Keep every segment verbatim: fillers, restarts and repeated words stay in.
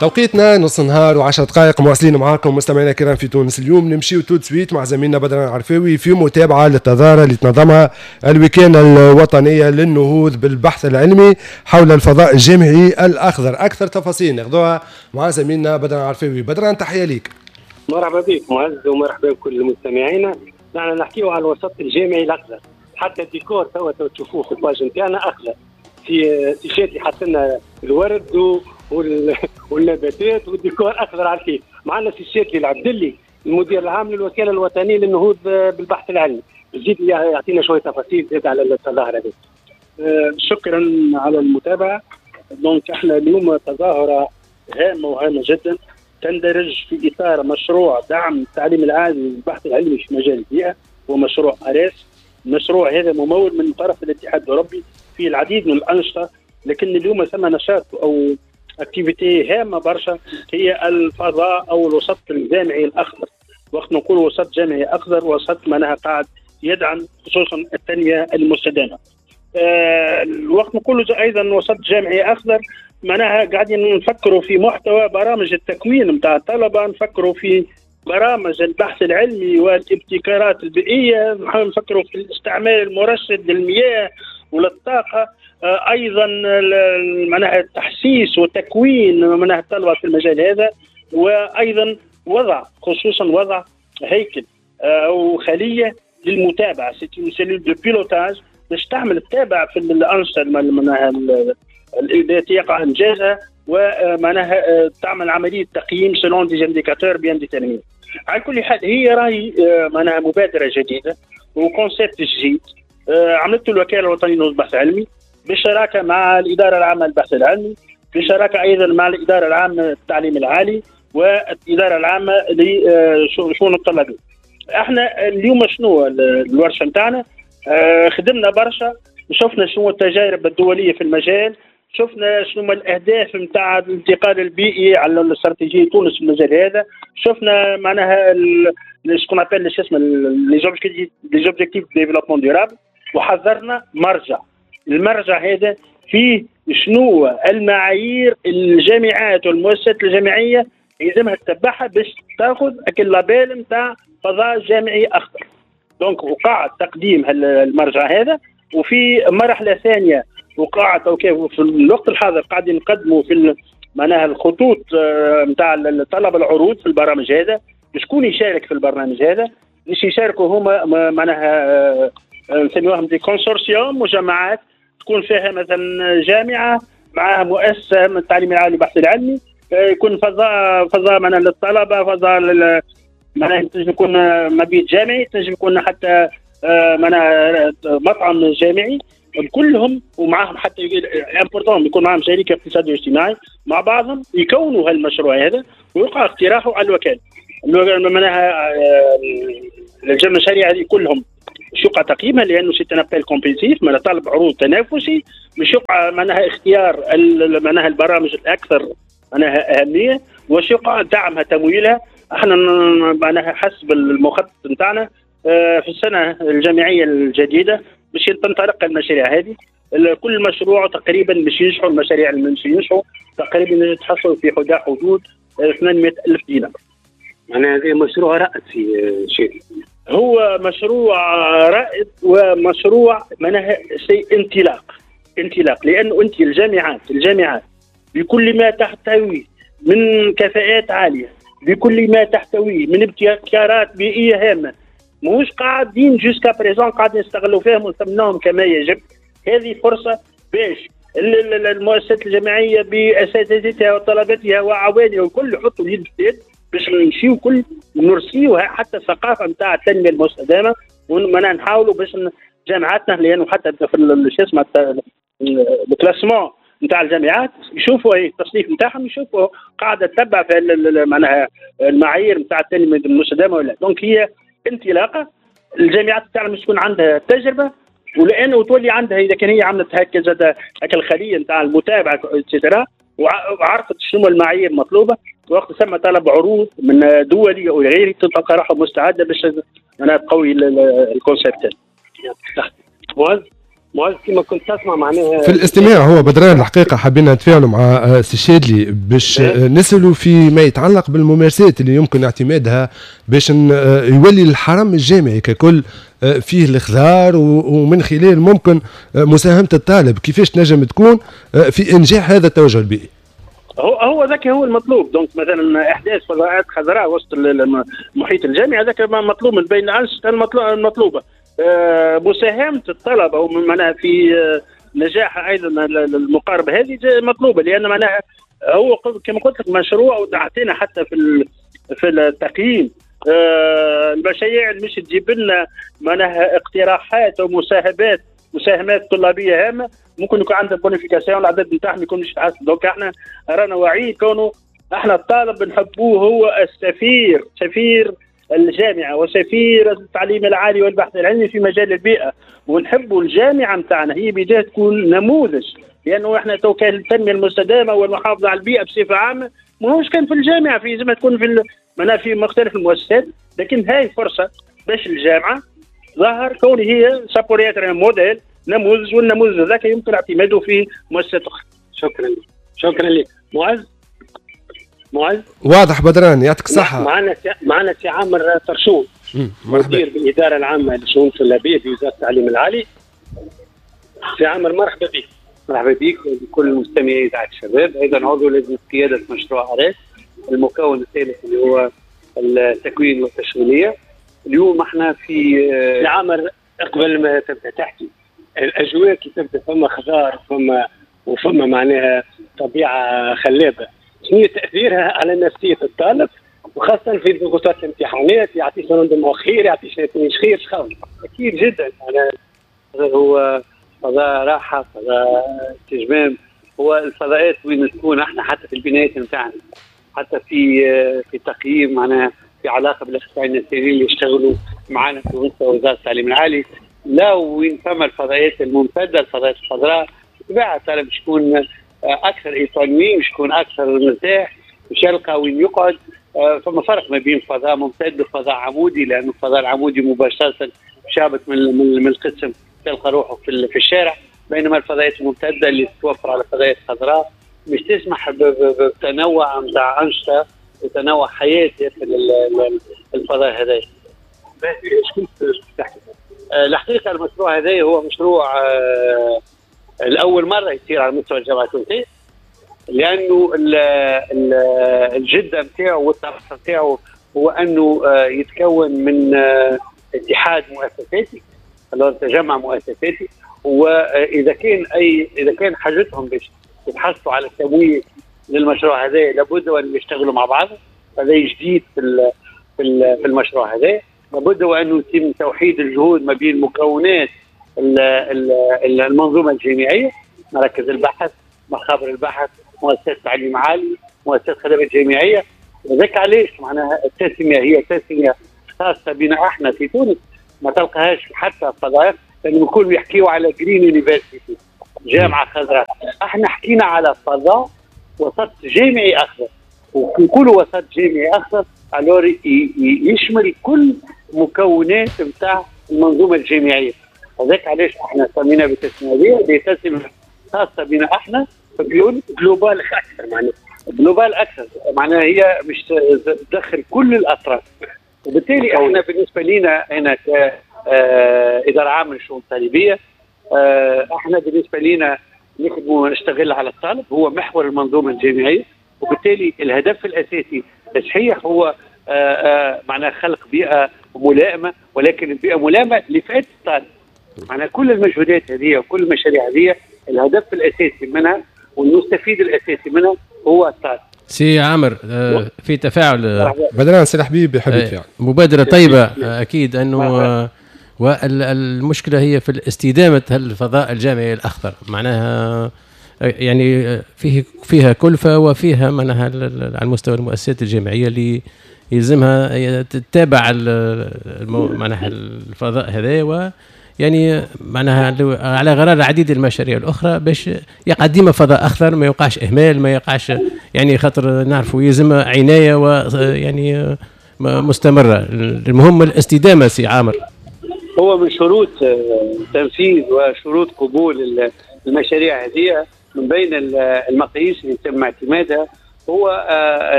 توقيتنا نص نهار وعشر دقائق، مواصلين معاكم مستمعينا الكرام في تونس اليوم. نمشيو tout de suite مع زميلنا بدر العرفاوي في متابعه للتظاهره اللي تنظمها الوكالة الوطنية للنهوض بالبحث العلمي حول الفضاء الجامعي الاخضر. اكثر تفاصيل ناخذوها مع زميلنا بدر العرفاوي. بدر، تحية ليك. مرحبا بك معز ومرحبا بكل المستمعين. نحن نحكيو على الوسط الجامعي الاخضر، حتى الديكور توا تشوفوه في ال page نتاعنا اخضر، في تيشيرت حط لنا الورد والنباتات والديكور اخضر على الكيف. معنا سي الشاذلي العبدلي، المدير العام للوكاله الوطنية للنهوض بالبحث العلمي، يزيد يعطينا شوية تفاصيل زاد على التظاهرة هذه. أه شكرا على المتابعه. donc احنا اليوم تظاهرة هامة وهامه جدا تندرج في اطار مشروع دعم التعليم العالي والبحث العلمي في مجال البيئه، ومشروع اريس. المشروع هذا ممول من طرف الاتحاد الاوروبي في العديد من الانشطه، لكن اليوم ثم نشاط او activité هامة برشا هي الفضاء او الوسط الجامعي الاخضر. وقت نقول وسط جامعي اخضر، وسط معناها قاعد يدعم خصوصا التنمية المستدامة. أه الوقت نقول ايضا وسط جامعي اخضر معناها قاعدين نفكروا في محتوى برامج التكوين نتاع الطلبه، نفكروا في برامج البحث العلمي والابتكارات البيئيه، نفكروا في الاستعمال المرشد للمياه وللطاقه، ايضا معناها التحسيس وتكوين معناها الطلبة في المجال هذا، وايضا وضع خصوصا وضع هيكل او خليه للمتابعه، c'est une cellule de pilotage باش تعمل تتابع في الانشطة معناها التي يقع انجازها، ومعناها تعمل عملية تقييم selon des indicateurs bien déterminés. على كل حال هي راهي معناها مبادرة جديدة و concept جديد عملته الوكالة الوطنية للبحث العلمي بالشراكة مع الادارة العامة للبحث العلمي، بالشراكة ايضا مع الادارة العامة للتعليم العالي والادارة العامة لشؤون الطلبيه. احنا اليوم شنو الورشة نتاعنا؟ خدمنا برشا، شفنا شنو التجارب الدولية في المجال، شفنا شنو الاهداف نتاع الانتقال البيئي على الاستراتيجية تونس في المجال هذا، شفنا معناها ce qu'on appelle اسمه les objectifs développement durable، وحضرنا مرجع. المرجع هذا فيه شنو المعايير الجامعات والمؤسسات الجامعية يلزمها تتبعها باش تاخذ ال label نتاع فضاء جامعي اخضر. donc وقع تقديم المرجع هذا، وفي مرحلة ثانية وقع في الوقت الحاضر قاعدين نقدموا في معناها الخطوط نتاع طلب العروض في البرامج هذا. شكون يشارك في البرنامج هذا؟ باش يشاركوا هما معناها نسميوهم des consortiums، مجمعات تكون فيها مثلا جامعه معها مؤسسة من التعليم العالي والبحث العلمي، يكون فضاء فضاء معناها للطلبه، فضاء معناها تنجم يكون مبيت جامعي، تنجم يكون حتى معناها مطعم جامعي، كلهم ومعهم حتى important يكون معهم شريك اقتصادي واجتماعي، مع بعضهم يكونوا هالمشروع هذا ويوقع اقتراحه على الوكالة. معناها المشاريع هذه كلهم مش يوقع تقييمها لانه c'est un appel compétitif، معناها طلب عروض تنافسي، مش يوقع معناها اختيار معناها البرامج الاكثر معناها اهمية، وش يوقع دعمها تمويلها. احنا معناها حسب المخطط نتاعنا في السنة الجامعية الجديدة باش تنطلق المشاريع هذه. كل مشروع تقريبا باش ينجحوا، المشاريع اللي باش ينجحوا تقريبا يتحصلوا في حدود ثمانمائة ألف دينار. معناها هذا مشروع رائد في شيء، هو مشروع رائد ومشروع معناها شيء انطلاق، انطلاق لانه انت الجامعات الجامعات بكل ما تحتوي من كفاءات عالية، بكل ما تحتويه من ابتكارات بيئية هامه، ماهوش قاعدين jusqu'à présent قاعدين نستغلوا فيهم ونثمنوهم كما يجب. هذه فرصة باش المؤسسات الجامعية باساتذتها وطلبتها وعوانها والكل يحطوا اليد في اليد باش نمشيو كل نرسيوها حتى الثقافة نتاع التنمية المستدامة، ومعناها نحاولوا باش جامعاتنا لانه حتى في شو اسمه ال classement نتاع الجامعات يشوفوا التصنيف نتاعهم، يشوفوا قاعدة تتبع في معناها المعايير نتاع التنمية المستدامة ولا. donc هي انطلاقة الجامعات تاعنا مش تكون عندها تجربه، ولانه تولي عندها اذا كان هي عملت هكذا هكا الخلية نتاع المتابعة et cetera وعرفت شنو المعايير المطلوبة، وقت ثم طلب عروض من دولي او غيره تلقى روحها مستعدة باش معناها تقوي ال concept. معز، معز كما كنت تسمع معناها في الاستماع هو بدران الحقيقة حبينا نتفاعلوا مع سي الشادلي باش نسألوا في ما يتعلق بالممارسات اللي يمكن اعتمادها باش يولي الحرم الجامعي ككل فيه الخضار، ومن خلال ممكن مساهمة الطالب كيفاش تنجم تكون في انجاح هذا التوجه البيئي. هو هو ذاك هو المطلوب. donc مثلا احداث فضاءات خضراء وسط المحيط الجامعي هذاك مطلوب من بين الانشطة المطلوبة. مساهمة الطلبة ومعناها في نجاح ايضا المقاربة هذه مطلوبه، لان معناها هو كما قلت لك مشروع وتعطينا حتى في في التقييم المشاريع اللي مش تجيب لنا معناها اقتراحات ومساهمات مساهمات طلابيه هامة ممكن يكون عندها bonification، العدد نتاعهم يكون مش يتحسن. donc احنا رانا واعيين كونه احنا الطالب نحبوه هو السفير، سفير الجامعة وسفير التعليم العالي والبحث العلمي في مجال البيئة، ونحبوا الجامعة نتاعنا هي بداية تكون نموذج، لانه احنا تو كان التنمية المستدامة والمحافظة على البيئة بصفة عامة ماهوش كان في الجامعة، في لازم تكون في معناها في مختلف المؤسسات، لكن هاي فرصة باش الجامعة ظهر كون هي ça pourrait être modèle نموذج، والنموذج هذاك يمكن اعتماده في مؤسسات اخرى. شكرا شكرا لك معز. معز واضح بدران، يعطيك الصحة. معنا معنا سي عامر طرشون مدير بالإدارة العامة للشؤون الطلابية في وزارة التعليم العالي. سي عامر مرحبا بك. مرحبا بك وبكل مستمعي إذاعة الشباب. أيضا عضو لجنة قيادة مشروع أريس المكون الثالث اللي هو التكوين والتشغيلية. اليوم احنا في سي عامر قبل ما تبدا تحكي الأجواء كي تبدا فما خضار وفما وفما معناها طبيعة خلابة، شنو تأثيرها على نفسية الطالب وخاصة في ضغوطات الامتحانات؟ يعطيش rendement خير، يعطيش نتائج خير، شخاوي؟ أكيد جدا. أنا هو فضاء راحة، فضاء استجمام، هو الفضاءات وين تكون احنا حتى في البنايات نتاعنا، حتى في في تقييم معناها في علاقة بالاخصائيين النفسيين اللي يشتغلوا معنا في وزارة التعليم العالي. لا وين فما الفضاءات الممتدة، الفضاءات الخضراء، بالطبيعة الطالب باش يكون اكثر épanoui، باش يكون اكثر مرتاح، باش يلقى وين يقعد. فما فرق ما بين فضاء ممتد وفضاء عمودي، لانه الفضاء العمودي مباشرة شابت من من القسم تلقى روحه في في الشارع، بينما الفضاءات الممتدة اللي تتوفر على فضاءات خضراء مش تسمح بتنوع نتاع انشطة وتنوع حياة داخل الفضاء هذا. شكون تحكي؟ الحقيقة المشروع هذا هو مشروع الاول مرة يصير على مستوى الجامعة التونسية، لانه الجدة نتاعو والطرح نتاعو هو انه يتكون من اتحاد مؤسساتي، تجمع مؤسساتي، واذا كان اي اذا كان حاجتهم باش يتحصلوا على التمويل للمشروع هذا لابد وان يشتغلوا مع بعض. هذا جديد في في المشروع هذا، لابد وانه يتم توحيد الجهود ما بين مكونات المنظومة الجامعية، مراكز البحث، مخابر البحث، مؤسسات تعليم عالي، مؤسسات خدمات جامعية. وذاك علاش معناها التسمية هي تسميه خاصة بنا احنا في تونس، ما تلقاهاش حتى فضاء، لانه الكل يحكيوا على green university، جامعه خضراء. احنا حكينا على فضاء وسط جامعي اخضر، وكل وسط جامعي اخضر alors يشمل كل مكونات نتاع المنظومة الجامعية. هذاك علاش احنا سمينا بالتسميه هذه، تسميه خاصة بنا احنا global اكثر، معناها global اكثر، معناها هي مش تدخل كل الاطراف. وبالتالي احنا بالنسبة لنا هنا كادارة عامة للشؤون الطالبيه، احنا بالنسبة لنا نخدموا ونشتغل على الطالب، هو محور المنظومة الجامعية، وبالتالي الهدف الاساسي صحيح هو معناها خلق بيئة ملائمه، ولكن البيئة ملائمه لفائدة الطالب. معناها كل المجهودات هذه وكل المشاريع هذه الهدف الاساسي منها والمستفيد الاساسي منها هو الطالب. سي عامر في تفاعل بدران سي الحبيب يحب يتفاعل. مبادرة طيبة اكيد انه، والمشكلة هي في الاستدامة الفضاء الجامعي الاخضر، معناها يعني فيه فيها كلفه وفيها معناها على مستوى المؤسسات الجامعية اللي يلزمها تتابع معناها الفضاء هذا، و يعني معناها على غرار العديد المشاريع الاخرى باش يقع ديما فضاء اخضر، ما يوقعش اهمال، ما يقعش يعني خاطر نعرفوا يلزم عناية ويعني مستمرة. المهم الاستدامة سي عامر. هو من شروط تنفيذ وشروط قبول المشاريع هذه، من بين المقاييس اللي تم اعتمادها هو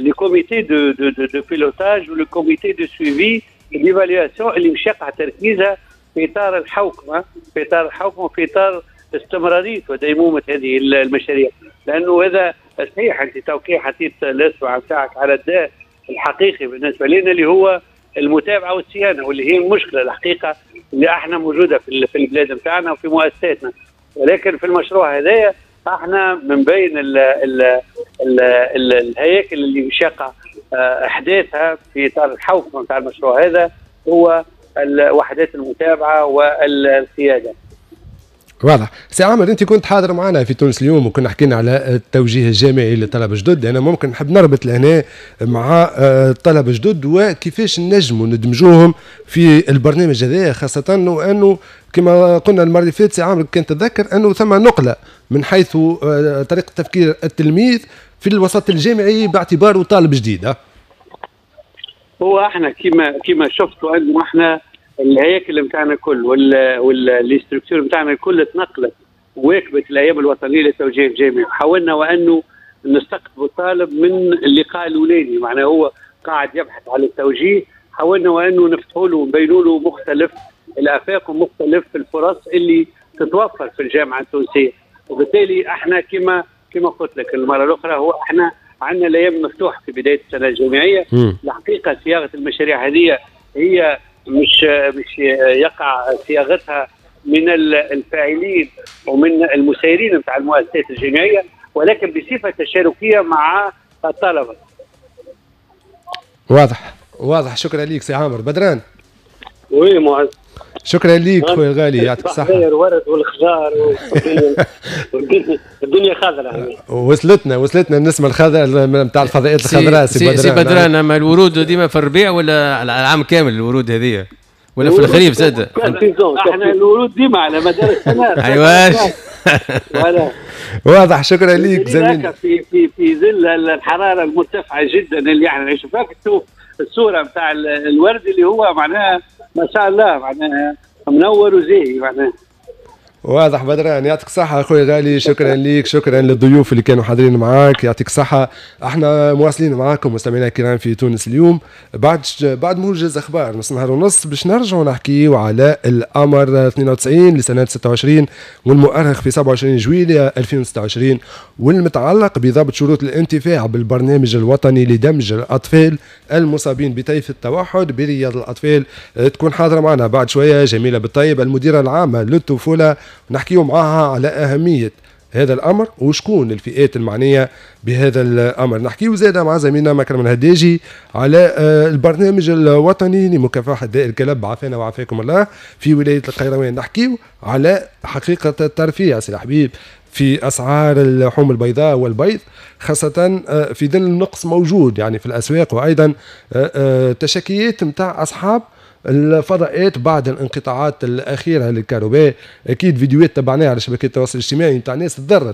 les comités de de de, de pilotage و le comité de suivi d'évaluation اللي مش يقع تركيزها في اطار الحوكمه، في اطار الحوكمة وفي اطار استمرارية وديمومه هذه المشاريع. لانه هذا صحيح، انت توقيع حطيت الاصبع نتاعك على الداء الحقيقي بالنسبة لنا اللي هو المتابعة والصيانه، واللي هي المشكلة الحقيقة اللي احنا موجودة في في البلاد نتاعنا وفي مؤسساتنا. ولكن في المشروع هذايا احنا من بين ال ال ال ال الهياكل اللي مش يقع احداثها في اطار الحوكمة نتاع المشروع هذا هو وحدات المتابعة والقيادة. واضح. سي عامر، انت كنت حاضر معنا في تونس اليوم وكنا حكينا على التوجيه الجامعي للطلبة الجدد. انا ممكن نحب نربط لهنا مع الطلبة الجدد وكيفاش نجموا ندمجوهم في البرنامج هذا، خاصة وانه كما قلنا المرة اللي فاتت سي عامر كان تذكر انه ثم نقله من حيث طريقه تفكير التلميذ في الوسط الجامعي باعتباره طالب جديد. هو احنا كما كما شفتوا انه احنا الهياكل نتاعنا الكل وال les structures نتاعنا الكل تنقلت وواكبت الايام الوطنية للتوجيه الجامعي. حاولنا وانه نستقطب الطالب من اللقاء الاولاني، معناه هو قاعد يبحث على التوجيه، حاولنا وانه نفتحوا له ونبينوا له مختلف الافاق ومختلف الفرص اللي تتوفر في الجامعة التونسية. وبالتالي احنا كما كما قلت لك المرة الاخرى، هو احنا عندنا الايام مفتوحة في بداية السنة الجامعية. م. الحقيقة صياغة المشاريع هذه هي مش مش يقع صياغتها من الفاعلين ومن المسيرين نتاع المؤسسات الجامعية، ولكن بصفة تشاركيه مع الطلبة. واضح واضح. شكرا لك سي عامر بدران. oui معز، شكرا لك خويا الغالي، يعطيك الصحة. الورد والخضار والدنيا الدنيا خضراء. وصلتنا وصلتنا النسمة الخضراء نتاع الفضاءات الخضراء. سي بدران، سي بدران، اما الورود ديما في الربيع ولا على العام كامل الورود هذه ولا في الخريف زاد؟ احنا الورود ديما على مدار السنة. ايوا واضح. شكرا لك زميل. في في في ظل الحرارة المرتفعة جدا اللي احنا نعيشوا فيها، تشوف الصورة نتاع الورد اللي هو معناها ما شاء الله معناها منور وزاهي معناها. واضح بدران، يعطيك الصحة أخوي غالي، شكرا ليك، شكرا للضيوف اللي كانوا حاضرين معاك، يعطيك الصحة. احنا مواصلين معاكم مستمعينا الكرام في تونس اليوم بعد بعد موجز أخبار نص نهار ونص باش نرجعوا نحكيو على الأمر اثنين وتسعين لسنة ستة وعشرين والمؤرخ في سبعة وعشرين جويلية ألفين وستة وعشرين والمتعلق بضبط شروط الانتفاع بالبرنامج الوطني لدمج الأطفال المصابين بطيف التوحد برياض الأطفال. تكون حاضرة معنا بعد شوية جميلة بالطيب المديرة العامة للطفولة، نحكيو معاها على أهمية هذا الأمر وشكون الفئات المعنية بهذا الأمر. نحكيو زادة مع زميلنا مكرم الهداجي على البرنامج الوطني لمكافحة داء الكلب عافانا وعافاكم الله في ولاية القيروان. نحكيو على حقيقة الترفيه سي الحبيب في أسعار اللحوم البيضاء والبيض، خاصة في ظل النقص موجود يعني في الأسواق، وأيضا تشكيات نتاع أصحاب الفضاءات بعد الانقطاعات الاخيرة للكهرباء. اكيد فيديوهات تبعناها على شبكات التواصل الاجتماعي نتاع ناس تضرت